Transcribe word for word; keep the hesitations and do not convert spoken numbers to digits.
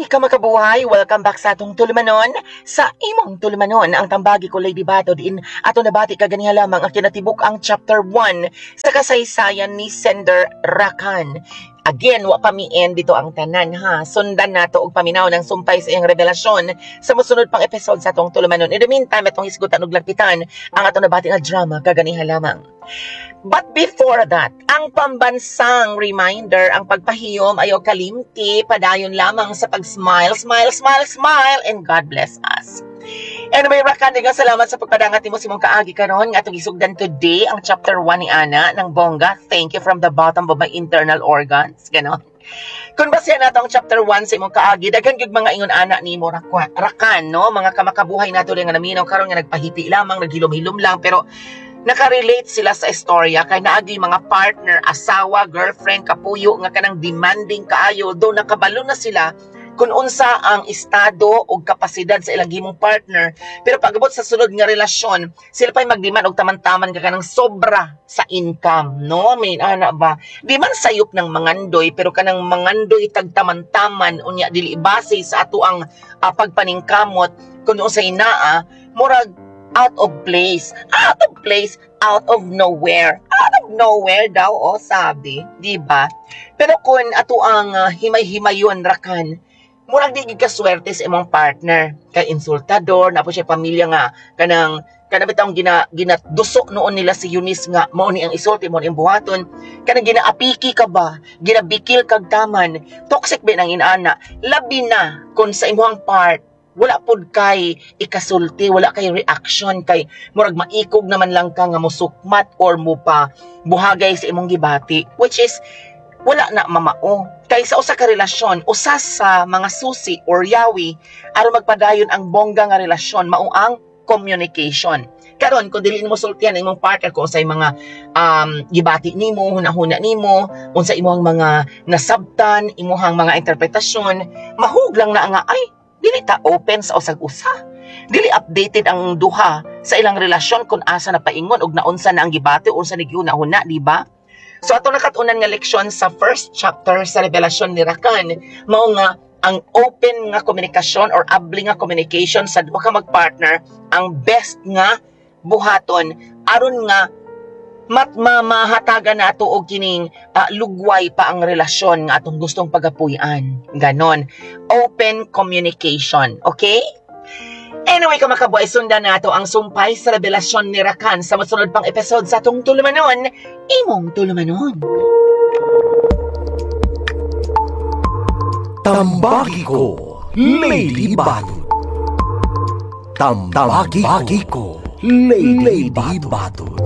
Hi, kamakabuhay! Welcome back sa atong tulumanon. Sa imong tulumanon, ang tambagi ko Lady Bato diin ato nabati kaganiha lamang ang kinatibuk ang chapter one sa kasaysayan ni Sender Rakan. Again, wa pa mi end dito ang tanan ha. Sundan nato og paminaw ng sumpay sa iyang revelasyon sa mosunod pang episode sa atong tulumanon. In the meantime, atong hisgutan og lagpitan ang atong nabati nga drama kaganiha lamang. But before that, ang pambansang reminder, ang pagpahiyom ayaw kalimti, padayon lamang sa pag-smile, smile, smile, smile, and God bless us. Anyway, Rakan, nga salamat sa pagpadangat nimo sa imong kaagi karon nga atong gisugdan today ang chapter one ni Ana ng bongga. Thank you from the bottom of my internal organs. Ganon. Kung basihan nato ang chapter one sa imong kaagi, daghan gyud mga ingon ana nimo rakwa, Rakan, no? Mga kamakabuhay nato nga naminaw karon nga nagpahipi lamang, naghilom-hilom lang, pero nakarelate sila sa istorya kay naagi mga partner, asawa, girlfriend, kapuyo nga kanang demanding kaayo do nakabalo na sila kung unsa ang estado o kapasidad sa ilang himong partner, pero pag-abot sa sulod nga relasyon sila pa'y magdemand og taman-taman ka kanang sobra sa income, no? May ana ba, di man sayop ng mangandoy, pero kanang mangandoy tagtaman-taman unya dili base sa ato ang uh, pagpaningkamot kung unsa inaa, murag out of place, out of place, out of nowhere, out of nowhere daw, oh, sabi, di ba? Pero kung ato ang uh, himay-himayon Rakan, murag di gid ka swerte sa imong partner kay insultador na po siya pamilya nga kanang kanang bitawng gina ginadusok noon nila si Eunice nga mao ni ang isulti, mao ni ang buhaton, kanang ginaapiki ka ba, ginabikil kag taman, toxic ba nang inana, labi na kung sa imong part wala pud kay ikasulti, wala kay reaction kay murag maikog naman lang ka nga musukmat or mo pa buhagay sa imong gibati, which is wala na mamao. Kay sa usa ka relasyon, usa sa mga susi or yawi aron magpadayon ang bongga nga relasyon mao ang communication. Karon kung dili nimo sultian ang imong partner kung unsay mga um, gibati nimo, hunahuna nimo, unsa imong mga nasabtan, imuhang mga interpretasyon, mahug lang na nga ay dili ta open sa usag usa. Dili updated ang duha sa ilang relasyon kung asa na paingon og naunsa na ang gibati, unsa ni gihuna-huna, di ba? So ato nakat-unan nga leksyon sa first chapter sa revelasyon ni Rakan, mao nga ang open nga komunikasyon or abli nga communication sa duha ka magpartner ang best nga buhaton aron nga mat mahatagan nato og kining ah, lugway pa ang relasyon nga atong gustong pagapuy-an. Ganon. Open communication. Okay? Anyway, kamakabuhay, sundan nato ang sumpay sa revelasyon ni Rakan sa masunod pang episode sa atong tulumanon, imong tulumanon. Tambagi ko, Lady Batud. Tambagi ko, Lady Batud.